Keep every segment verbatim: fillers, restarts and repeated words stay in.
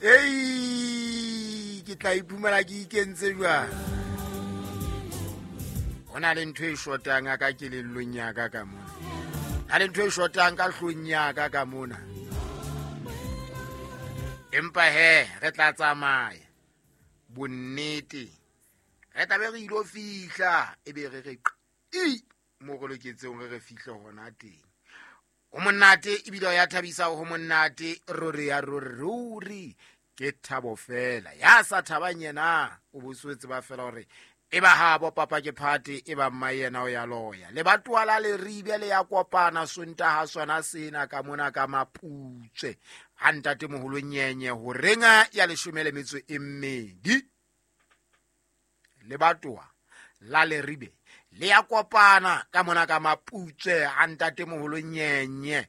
Ei, ke tla iphumana ke ikentse jwang? Ho na le ntho e shotang ka kelellong ya ka ka mona. Na le ntho e shotang ka hlong ya ka ka mona. Empa he, re tla tsamaya. Bonnete. Re tla be re ilo fihla, ebe re re qi mo re loketseng re re fihle hona teng. O monate ebile ya thabisa ho monate ruri ya ruri ke thabo fela. Ya sa thabang yena o boswetse ba fela hore e ba ha bo papa ke phate e ba mma yena o ya loya. Le batoa la Leribe le ya kopana Sontaha sona sena ka mona ka Maputswe. Ha ntate moholo nyenye ho renga ya leshome le metso e mmedi. Le batoa la Leribe le ya kopana ka mona ka Maputswe ha ntate moholo nyenye.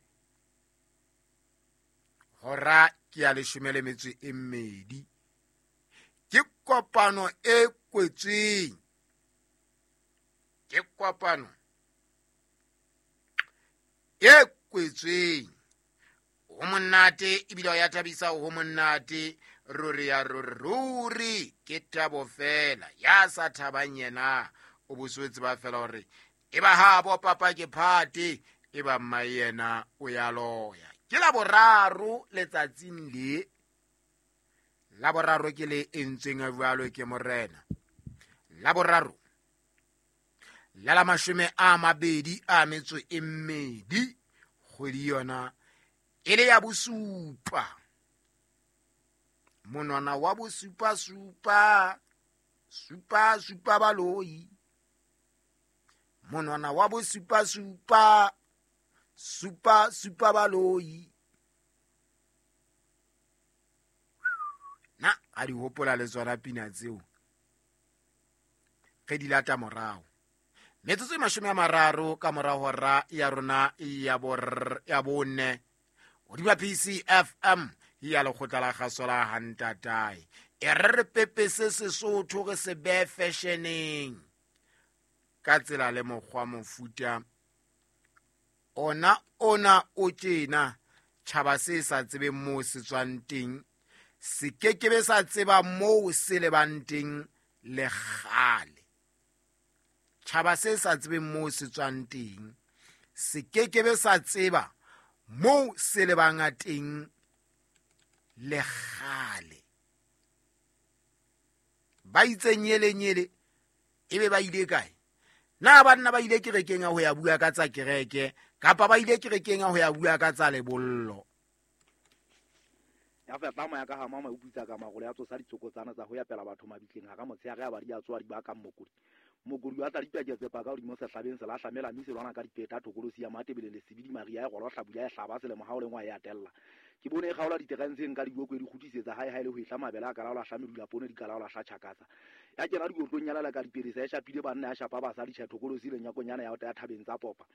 Hora ke ya leshome le metso e mmedi. Ke kopano e kwetsweng. Ke kopano e kwetsweng. Ho monate ebile ya thabisa ho monate ruri ya ruri ke thabo fela. Ya sa thabang yena o boswetse ba fela hore e ba ha bo papa ke phate e ba mma yena o ya loya. Ke la boraro letsatsing le. La boraro ke le entsweng jwalo ke morena. La boraro la la mashome a mabedi a metso e mmedi kgwedi yona e le ya bosupa. Monwana wa bosupa supa supa supa baloi. Monwana wa bosupa supa supa supa baloi. Na a di hopola le tsona pina tseo. Re di lata morao. Metsotso e mashome a mararo ka mora hora ya rona ya bor ya bone. Hodima P C F M ya lekgotla la kgaso la Hantatae. E re re pepese Sesotho re se behe fashioneng. Ka tsela le mokgwa mofuta ona ona o tjena tjhaba se sa tsebeng moo se tswang teng se kekebe sa tseba moo se lebang teng le kgale. Tjhaba se sa tsebeng moo se tswang teng se kekebe sa tseba moo se lebang teng le kgale. Ba itse nyele nyele ebe ba ile kae? Na banna ba ile kerekeng ya ho ya bua ka tsa kereke kapa ba ile kerekeng ya ho ya bua ka tsa lebollo? Ya feta moya ka ha mama o putsa ka magolo ya tsosa ditsokotsana tsa ho ya pela batho mabitleng ha ka motshehare ya ba di a tswa di ba ka mokodi. Mokodi wa tla dipaketse pa ka hodimo sehlabeng se la hlamela mme se lwana ka dipeta thokolosi ya Matebele le Sebidi Maria ya golo hlabula ya hlaba selemo ha o lengwa ya tella. Ke bone e kgaola diterenseng ka diboko di kgutisetsa hae hae le ho etla mabele a ka laola hlamedula poone di ka laola hla tjhakatsa. Ya kena dikotlong ya lala ka dipelesa ya shapile banna ya shapa basadi tjha thokolosi le nyakonyana ya ya thabeng tsa popa.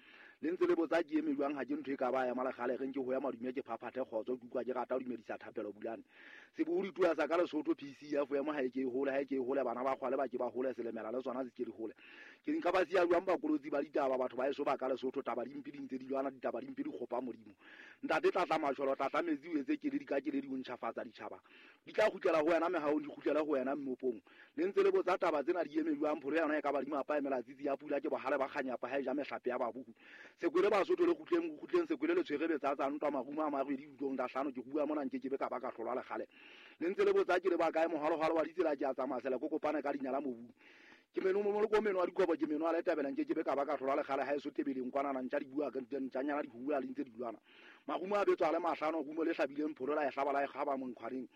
Le ntse le botsa ke eme jwang ha ke ntho e ka ba ya malekgale reng ke ho ya madume ke phaphathe kgotso ke utlwa ke rata ho dumedisa thapelo bulane. Sebohodi tua sa ka Lesotho P C F ya mo ha e ke hole ha e ke hole bana ba kgwale ba ke ba hole selemela le tsona se ke di hole. Ke nka ba siya jwang bakolotsi ba ditaba batho ba eso ba ka Lesotho taba di mpe di ntse di lwana ditaba di mpe di kgopa modimo. Ntate tlatla masholo tlatla metsi o etse keledi ka keledi o ntjhafatsa ditjhaba. Di tla kgutlela ho wena mehao di kgutlela ho wena mmopong. Le ntse le botsa taba tsena di eme jwang pholo yona e ka ba di mapa emela tsitsi ya pula ke bohale ba kganyapa ha e ja mehlape ya babuku. Sekwele Basotho le kgutleng kgutleng sekwele le tshwere betsa tsa ntwa marumo a marwedi utlong da hlano ke bua mona nke ke be ka ba ka hlolwa le kgale. Le ntse le botsa ke le ba kae mohalohalo wa ditsela ke a tsamaya sele ko kopane ka dinyala mobung. Ke meno mo mo meno wa dikobo ke meno a le tabela nke ke be ka ba ka hlolwa le kgale ha e so tebeleng kwana na ntja di bua ka ntjanyana di hula le ntse di lwana. Marumo a betswa le mahlano rumo le hlabileng pholo la e hlaba la e kgaba monkhwareng.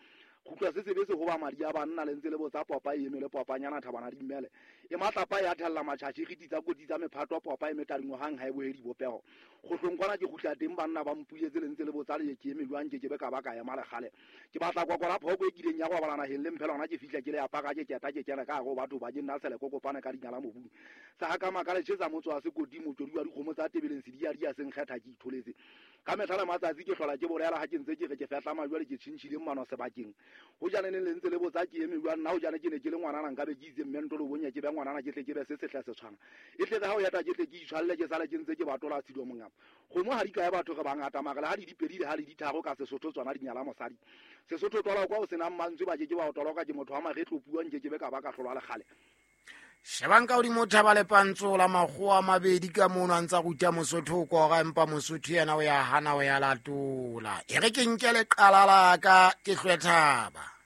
Kgutla se sebe se ho ba madi a banna le ntse le botsa popa e emele popanyana thabana di mmele. E matlapa ya thella matjhatjhi re ditsa kotsi tsa mephato popa e metadingwe hang ha e bohedi bopeho. Kgohlong kwana ke kgutla teng banna ba mpuletse le ntse le botsa le ke eme jwang ke ke be ka ba ka ema le kgale. Ke batla kwakwala phoko e kileng ya go balana naheng le mphela hona ke fihla ke le ya paka ke keta ke kena ka go batho ba ke nna sele ko kopana ka dinyala mobung. Sa ha ka makale tjhetsa motso wa sekoti motswedi wa dikgomo tsa tebeleng se di ya di ya seng kgetha ke itholetse. Ka mehla le matsatsi ke hlola ke bolela ha ke ntse ke re ke fehla majwale ke tjhintjhileng mano sebakeng. Ho jane ne le ntse le botsa ke eme jwang nna ho jane ke ne ke le ngwanana nka be ke itse mme ntolo bonya ke be ngwanana ke tle ke be se sehla se tshwana. E tle re ha o yata ke tle ke itshwalle ke sale ke ntse ke batola tshido mongapa. Kgomo ha di kae batho re bangata mare le ha di dipedi le ha di ditharo ka Sesotho tsona di nyala mosadi. Sesotho twala kwa o senang mantswe ba ke ke ba o toloka ke motho wa maretlo puo nke ke be ka ba ka hlolwa le kgale. Shebang ka hodimo thaba le pantsola makgowa a mabedi ka mono a ntsa ruta Mosotho o kora, empa Mosotho yena o ya hana o ya latola. E re ke nke leqala la ka ke hlwe thaba.